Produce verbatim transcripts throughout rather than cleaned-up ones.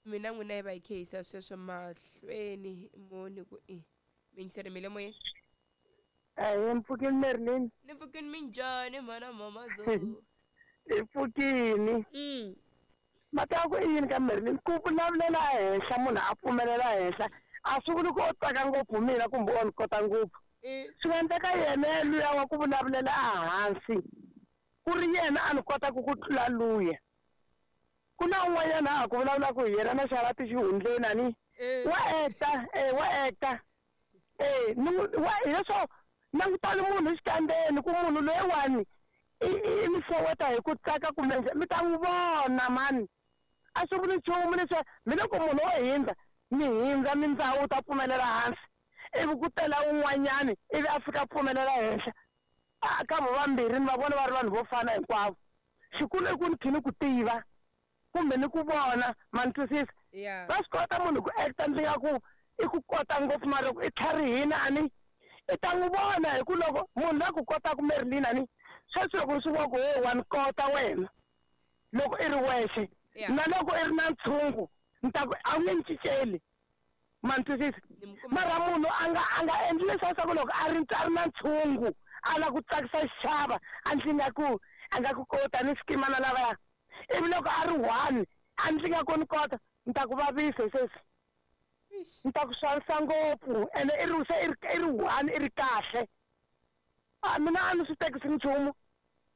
Mina n'wina hi va hi khehisa sweswo mahlweni moni ku i mingiseri mi le moyeni. Ahee, mpfukini Merlin. Ni pfukini minjhani mhana mamazo? Hi pfukini. Mm. Mhaka ya ku i yini ka Merlin ku vulavulela ehenhla munhu a pfumelela henhla a swi vuli ku o tsaka ngopfu mina kumbe o ni kota ngopfu. Swi nga endleka yena luya wa ku vulavulela ehansi ku ri yena a ni kotaka ku tlula luya. Ku na un'wanyana a ha ku vulavulaka hi yena na xarati xihundleni a ni wa acta eh wa acta eh wa hileswo langutani munhu xikandzeni ku munhu loyiwani i i mi xeweta hi ku tsaka kumbe mi ta n'wi vona mani a swi vuli nchumu leswi mi loko munhu o hindza mi hindza mindhawu ta pfumelela hansi ivi ku tela un'wanyani ivi a fika pfumelela henhla a ka vo vambirhi ni va vona va ri vanhu vo fana hinkwavo xikulu i ku ni khi ni ku tiva kumbe ni ku vona ma ni twisisa. Va swi kota munhu ku acta ndzi nga ku i ku kota ngopfu mara loko i tlharihini a ni i ta n'wi vona hi ku loko munhu la ku kotaka Merlin a ni sweswi loko swi vona ku he wa ni kota wena loko i ri wexe na loko i ri na ntshungu ni ta ku a wu nge ni cinceli ma ni twisisa. Mara munhu a nga a nga endli leswiya swa ku loko a ri a ri na ntshungu a lava ku tsakisa xixava a ndzi nga ku a nga ku kota ni xikima na lavaya ivi loko a ri one a ndzi nga ku ni kota ni ta ku vavisa sweswi ni ta ku xanisa ngopfu ene i ri se i ri i ri one i ri kahle a mina a ni swi tekisi nchumu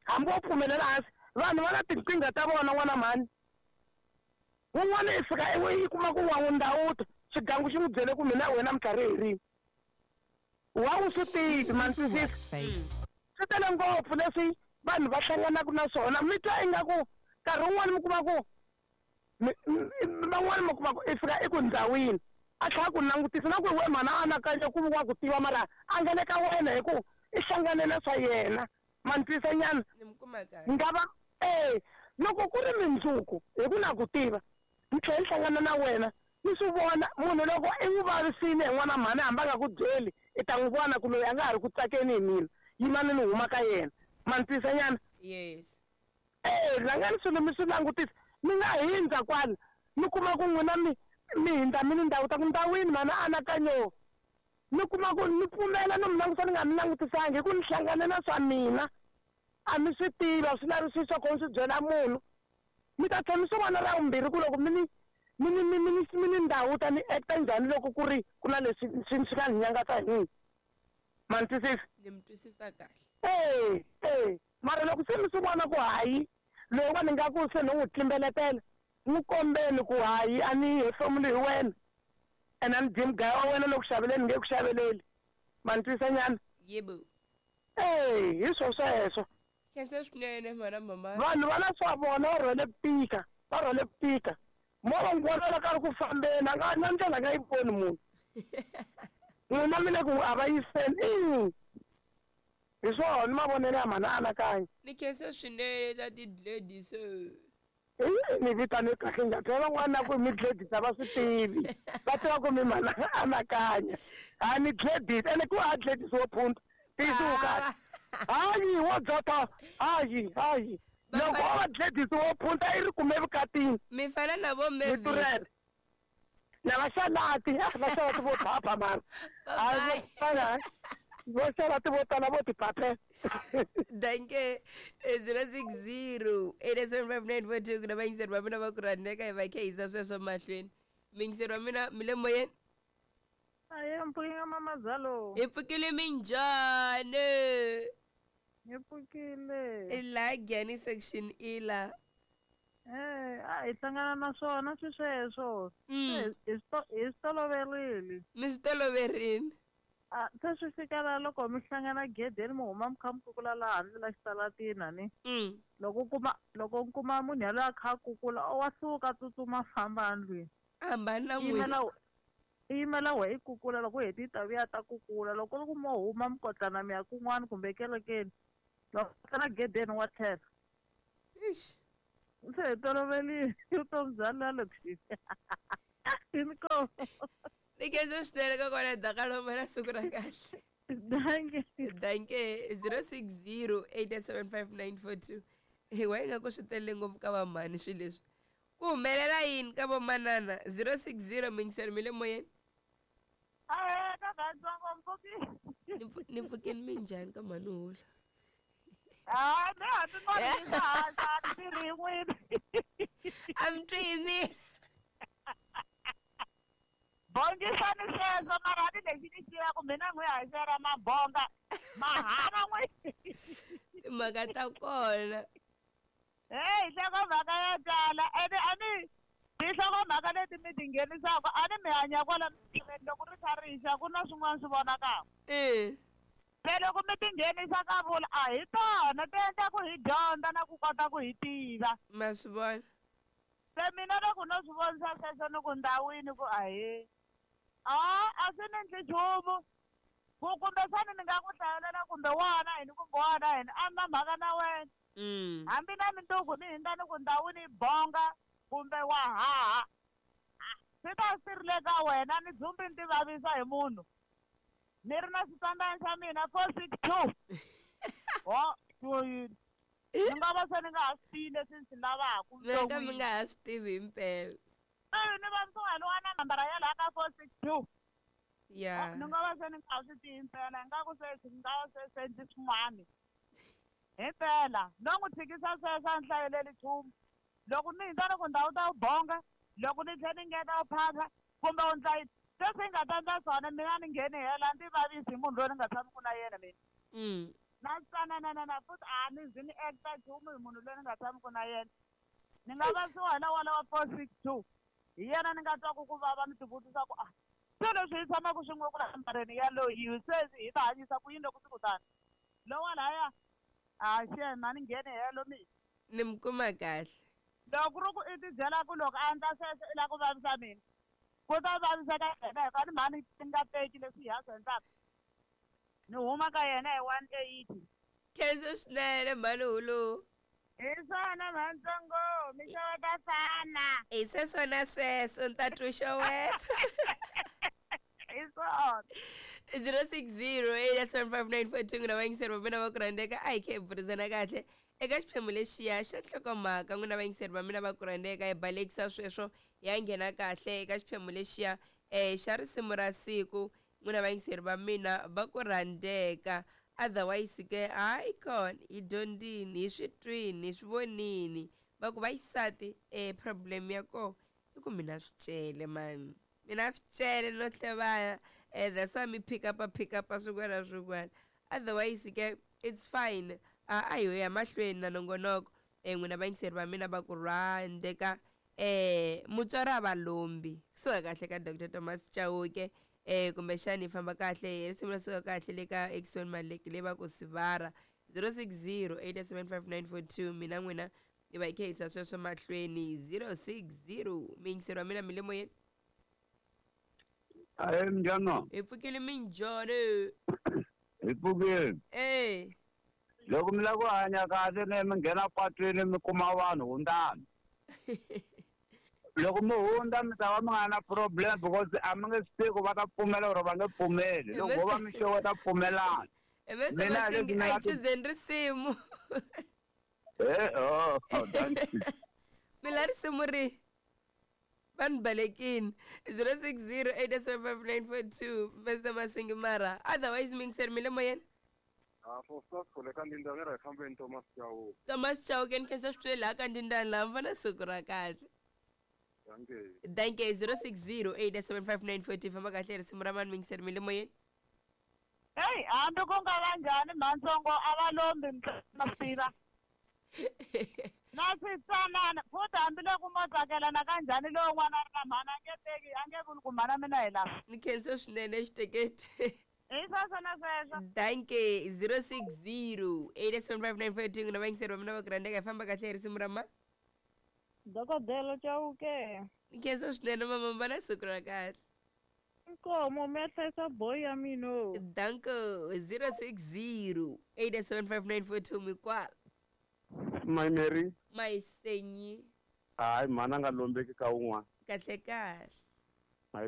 hambi wo pfumelela hansi vanhu va na tinkingha ta vona n'wana mhani wun'wana i fika i kuma ku wa n'wi ndhawuta xigangu xi n'wi byele ku mina wena minkarhi hi rini wa wu swi tivi ma ni twisisa. Swi tele ngopfu leswi vanhu va hlanganaka na swona mi twa ingaku nkarhi wun'wani mi kuma ku van'wani mi kuma ku i fika i ku ndhawini a tlhela ku langutisa na ku we mhana a anakanya ku wa ku tiva mara a nga le ka wena hi ku i hlangane na swa yena ma ni twisisa nyana. Nga va e loko ku ri mindzuku hi ku na ku tiva ni tlhela ni hlangana na wena ni swi vona munhu loko i n'wi vavisile hi n'wana mhani hambi a nga ku byeli i ta n'wi vona ku loyi a nga ha ri ku tsakeni hi mina yimani ni huma ka yena ma ni twisisa nyana. Yes. Eh rhangani swilo mi swi langutisa mi nga hindza kwala mi kuma ku n'wina mi mi hindza mi ni ndhawu ta ku ndhawini mhana anakanyo mi kuma ku ni pfumela no mi langusa ni nga mi langutisangi hi ku ni hlangane na swa mina a mi swi tiva swi lavi swi swa ku ni swi byela munhu mi ta tlhela mi swi vona ra vumbirhi ku loko mi ni mi ni mi ni mi ni ndhawu ta ni acta njhani loko ku ri ku na leswi swi swi nga ni nyangatsa hi n'wina ma ni twisisa. Ni mi twisisa kahle. Eh eh mara loko se mi swi vona ku hayi loyiwani nga ku se ni n'wi tlimbeletela n'wi kombeni ku hayi a ni hefemuli hi wena ene a ni dyi mugaya wa wena loko xaveleni nge ku xaveleli ma ni twisisa nyana. Yebo. Eh hi swo sweswo. Khensa swinene mhana mama. Vanhu va na swa vona va rhwele ku tika va rhwele ku tika mo va n'wi vona ka ri ku fambeni a nga na ndlela a nga yi voni munhu n'wina mi le ku a va yiseni hi swona ni mavonelo ya mhana anakanya. Ni khensa swinene ta ti-ladies. I ni vitane kahle nga byela van'wana na ku mi gladys a va swi tivi va tiva ku mi mhana anakanya a ni gladys ene ku a gladys wo phunta tiyisiwu kahle hayi wo dzota hayi hayi loko o va gladys wo phunta i ri kume vukatini mi fana na vo Mavis na va xalati va xalati vo phapha mara a vo xalati vo tala vo tiphaphe. Danke. Zero six zero eight seven five nine four two ku na vayingiseri va mina va ku rhandzeka hi va khehisa sweswo mahlweni miyingiseri wa mina mi le moyeni. Aye mpfukile mamazalo. Hi pfukile minjhani? Hi pfukile. I laha Giyani section I la. Eh a hi hlangana na swona swi sweswo. Hi swi toloverile. Mi swi toloverile. A se swi fika la loko mi hlangana gedeni mi huma mi kha mi kukula laha handle la xitalatini a ni. Loko u kuma loko u kuma munhu yaloye a kha a kukula wa suka a tsutsuma a famba endlwini. A hambana na n'wina. I yimela wehe i kukula loko u heti ta vuya ta kukula loko ku mo huma mi kotlana mi ya kun'wana kumbe ekerekeni loko hlangana gedeni wa tlhela. Ixi. Se hi toloverile vutomi bya la lokixini. Inkomu. Ni khensa swinene kokwana Dakalomba na siku ra kahle. Danke. Danke zero six zero eight seven five nine four two. Hi wa nga ku swi tele ngopfu ka vamhani swilo leswi. Ku humelela yini ka vomanana zero six zero mingiseri mi le moyeni. Ahee ka vatsongo mpfuki. Ni pfukeni minjhani ka mhani hula. Ah, ne a ti mani ha ha ti ri n'wini. A mi twi hi mina. Bongisani sweswo mara a ni lexi ni tivaka mina n'wi haxela mabonga mahala n'wi. Timhaka ta kona. Hey, nhlokomhaka yo tala ene a ni tinhlokomhaka leti mi ti nghenisaka a ni mi hanya kwala misaveni loko ri kha ri xa ku na swin'wana swi vonakaka. E. Se loko mi ti nghenisa ka vula a hi tona ti endla ku hi dyondza na ku kota ku hi tiva. Ma swi vona. Se mina loko no swi vonisa sweswo ni ku ndhawini ku ahee. A a swi ni endli nchumu. Ku kumbexani ni nga ku hlayelela kumbe wana yini kumbe wana yini a ni na mhaka na wena. Mm. Hambi na minduku ni hindza ni ku ndhawini yi bonga kumbe wa haha. Swi ta swi ri le ka wena ni dzumbi ni ti vavisa hi munhu. Ni ri na xitandani xa mina four six two. Ho, swo yini? Ni nga va se ni nga ha swi tivi leswi ni swi lavaka Mi nga ka mi nga ha swi tivi himpela. E ni vavisiwa hi lowa na nambara ya laha ka four six two. Ya. Ni nga va se ni nga ha swi tivi himpela ingaku se ni nga va se se ndzi swin'wani. Himpela no n'wi tshikisa sweswo a ni hlayeleli nchumu. Loko ni hindza ni ku ndhawu ta wu bonga, loko ni tlhela ni ngeta wu phapha kumbe u ndla yini. Sweswi ni nga ta endla swona mina ni ngheni hela ni ti vavisi hi munhu loyi ni nga tshamiki na yena mina. Mm. Na tsananana futhi a ni zi ni acta nchumu hi munhu loyi ni nga tshamiki na yena. Ni nga vavisiwa hi lawa lawa four six two. Hi yena ni nga twaku ku vava ni tivutisa ku ah se leswi hi tshamaka swin'we ku la nambareni yaloyi sweswi hi ta hanyisa ku yini loko swi ku tani. Lowa lahaya a xena a ni ngheni helo mina. Ni mi kuma kahle. Loko ku ri ku i ti byela ku loko a endla sweswo i lava ku vavisa mina. Ku ta vaviseka yena hikuva ni mhani ni nga teki leswi hi a swi endlaka. Ni huma ka yena hi one eighty. Khensa swinene mhani hulu. Hi swona mhantsongo mixavo ta fana. Hi sweswo na sweswo ni ta twa xeweta. Hi swona. zero six zero eight seven five nine four two n'wina vayingiseri va mina va ku rhandzeka a hi khe hi burisana kahle eka xiphemu lexiya xa nhlokomhaka n'wina vayingiseri va mina va ku rhandzeka hi balekisa sweswo ya nghena kahle eka xiphemu lexiya um xa risimu ra siku n'wina vayingiseri va mina va ku rhandzeka otherwise ke hayi kona hi dyondzini hi swi twini hi swi vonini va ku vaxisati um problem ya kona i ku mina swi cele mani mina swi cele no hlevana eh that's why mi pick up pick up swin'wana na swin'wana otherwise ke it's fine a a hi ya mahlweni na nongonoko eh n'wina vayingiseri va mina va ku rhandzeka eh mutswari a va lombi kusuka kahle ka Doctor Thomas Chauke eh kumbexani hi famba kahle hi risimu ra suka kahle le ka Exxon Maleki leyi va ku sivara zero six zero eight seven five nine four two mina n'wina hi va hi kha hi yisa sweswo mahlweni zero six zero miyingiseri wa mina mi le moyeni. Ahee minjhani? Hi pfukile minjhani? Hi pfukile. Eh. Loko mi lava ku hanya kahle ne mi nghena patwini mi kuma vanhu hundzani. Loko mi hundza mi ta va mi nga na problem because a mi nge swi tivi ku va ta pfumela or va nge pfumeli. Loko vo va mi xeweta pfumelani. Mister Masingi a hi chuzeni risimu. Eh oh, thank you. Mi la risimu ri va ni balekini zero six zero eight seven five nine four two Mister Masingi mara otherwise miyingiseri mi le moyeni. Ah, for first ka ndindani ra hi fambeni Thomas Chauke. Thomas Chauke ni khensa swi twile laha ka ndindani laha mi va na siku ra kahle. Danke. Danke zero six zero eight seven five nine four two famba kahle risimu ra mani miyingiseri mi le moyeni. Hey, hambi ku nga va njhani mhantsongo a va lombi ma swi tiva. Na switsanana futhi hambiloko mo tsakelana kanjhani lowu n'wana a ri na mhani a nge teki a nge vuli ku mhana mina hi lava. Ni khensa swinene xiteketi. Hi sweswo na sweswo. Danke zero six zero eight seven five nine four two n'wina vayingiseri va mina va ku rhandzeka hi famba kahle hi risimu ra ma. Dokodela Chauke. Ni khensa swinene mama va na siku ra kahle. Inkomo mi ya hlayisa boy ya mina. Danko zero six zero eight seven five nine four two mikwala. My Mary. Mayisenyi. Hayi mhani a nga lombeki ka wun'wana. Kahle kahle.